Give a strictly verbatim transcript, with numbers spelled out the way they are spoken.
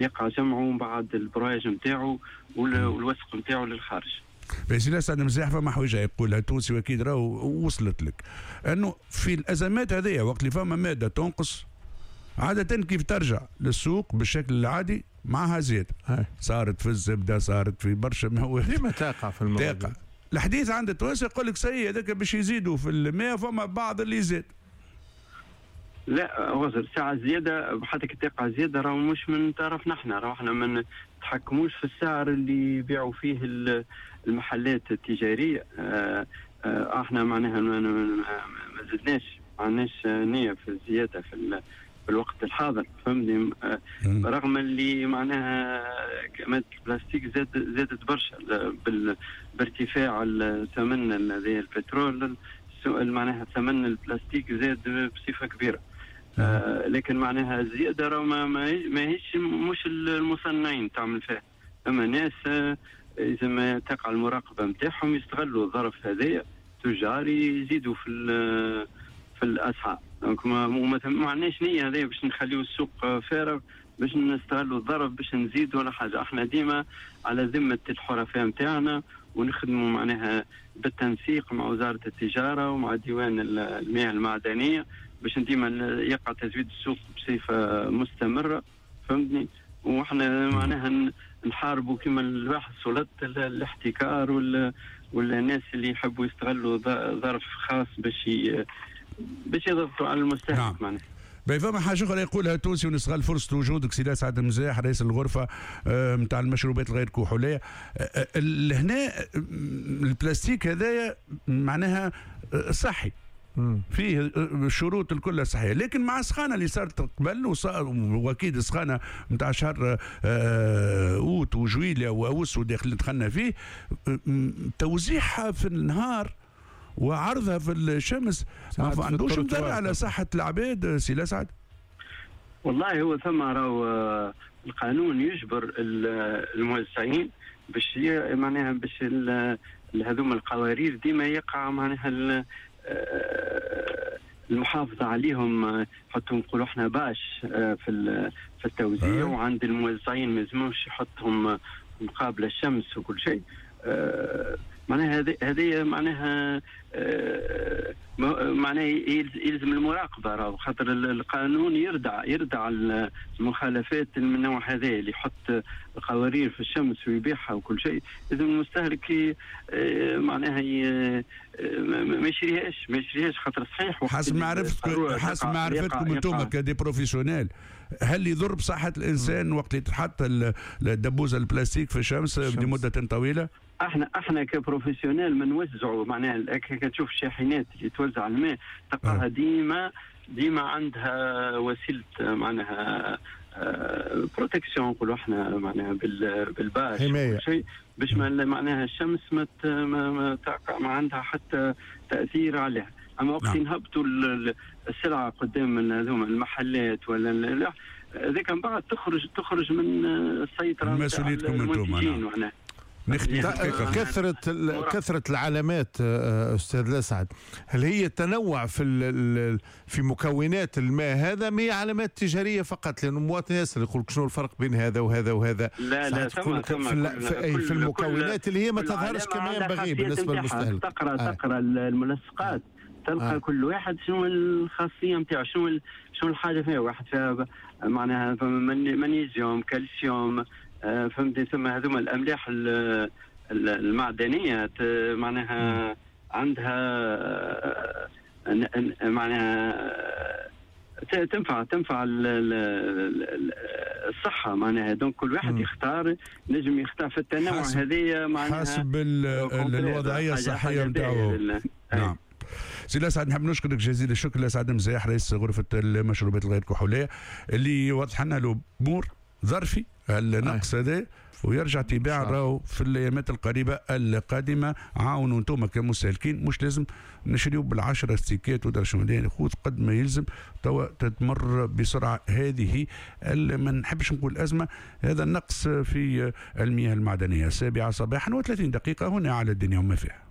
يقع جمعه بعد البراج نتاعو والوسق نتاعو للخارج. بس لسعد مزاح فما حويجه يقولها التونسي واكيد راهو وصلت لك، انه في الازمات هذه وقت اللي فما مادة تنقص عادة كيف ترجع للسوق بالشكل العادي معها زيادة. صارت في الزبدة، صارت في برشا مواد، ديما تقع في المواد. تقع. الحديث عند التوانسة يقول لك سي هذاك باش يزيدوا في الماء، فما بعض اللي يزيد. لا وزر ساعة زيادة حتى كي تقع زيادة راهو مش من طرف نحن، راهو احنا ما نتحكموش في السعر اللي يبيعوا فيه المحلات التجارية. اه اه احنا معناها ما زدناش، ما عندناش نية في الزيادة في في الوقت الحاضر، فهمني؟ رغم اللي معناها مادة البلاستيك زاد زادت برشا بارتفاع الثمن البترول، معناها ثمن البلاستيك زاد بصفة كبيرة. آه لكن معناها الزيادة راه ما ماهيش مش المصنعين تعمل فيها، اما ناس آه اذا ما تقع المراقبة نتاعهم يستغلوا الظرف هذايا، تجار يزيدوا في في الاسعار. donc ما ما عندناش نيه هذايا باش نخليو السوق فارغ باش نستغلوا الظرف باش نزيدوا ولا حاجة. احنا ديما على ذمه الحرفاء نتاعنا ونخدموا معناها بالتنسيق مع وزارة التجارة ومع ديوان المياه المعدنية باش ديما يقع تزويد السوق بصفة مستمرة، فهمتني؟ واحنا معناها نحاربوا كما الواحد سلطة الاحتكار ولا ولا الناس اللي يحبوا يستغلوا ظرف خاص باش ي... باش يضغطوا على المستهلك. نعم. معناها فما حاجة اخرى يقولها التونسي ونستغل فرصة وجودك سي لسعد مزاح رئيس الغرفة نتاع المشروبات الغير كحوليه. هنا البلاستيك هذايا معناها صحي، فيه الشروط الكل صحية، لكن مع السخانه اللي صارت قبل واكيد السخانه نتاع شهر اوت وجويليا واوس وداخل دخلنا فيه، توزيعها في النهار وعرضها في الشمس ما عندوش مضر على صحة العباد سي لسعد؟ والله هو ثم راهو القانون يجبر الموزعين باش معناها باش هذوما القوارير ديما يقع معناها المحافظة عليهم، حطوا نقولوا احنا باش في في التوزيع، وعند الموزعين ما يلزموش يحطهم مقابل الشمس وكل شيء. معناها هذه هذه معناها معناها يلزم المراقبة، راهو خاطر القانون يردع يردع المخالفات من النوع هذا اللي يحط القوارير في الشمس ويبيعها وكل شيء. لازم المستهلك معناها ما يشريهاش ما يشريهاش خاطر صحيح. حسب معرفتكم حسب معرفتكم انتم ك des professionnels، هل يضر بصحة الانسان وقت اللي تحط الدبوزه البلاستيك في الشمس لمدة طويلة؟ احنا احنا ك professionnels ما نوزعوا معناها كتشوف الشاحنات اللي توزع الماء تلقاها ديما ديما عندها وسيلة معناها protection نقولوا احنا معناها بال bâche حماية شيء باش معناها الشمس ما ما, ما عندها حتى تاثير عليها. اما وقت نعم. نهبطوا السلعة قدام هذوما المحلات ولا هذاك من بعد تخرج تخرج من السيطرة مسؤوليتكم انتم. نعم. كثرة كثرة العلامات أستاذ لسعد، هل هي تنوع في في مكونات الماء هذا؟ ما هي علامات تجارية فقط؟ لأنه المواطن يسأل يقول شنو الفرق بين هذا وهذا وهذا. لا لا ثم في, في, في المكونات اللي هي ما تظهرش كما ينبغي بالنسبة للمستهلك. تقرأ آه. تقرأ الملصقات تلقى آه. كل واحد شنو الخاصية نتاعو، شنو شنو الحاجة فيها. واحد فيها معناها مغنيسيوم، كالسيوم، فهمتني، ثم هذوما الاملاح المعدنية معناها عندها معناها تنفع تنفع الصحة معناها. donc كل واحد يختار، نجم يختار في التنوع هذه معناها حسب الوضعية الصحية نتاعو. نعم سي لسعد، نحب نشكرك جزيل الشكر. لسعد مزاح رئيس غرفة المشروبات الغير كحوليه اللي وضح لنا الامور ظرفي النقص هذا ويرجع تباع راهو في الايامات القريبة القادمة. عاونوا انتم كمستهلكين، مش لازم نشريو بالعشرة ستيكات ودرا شنو، خذ قد ما يلزم توا تتمر بسرعة هذه ما نحبش نقول ازمة، هذا النقص في المياه المعدنية. السابعة صباحا وثلاثين دقيقة هنا على الدنيا وما فيها.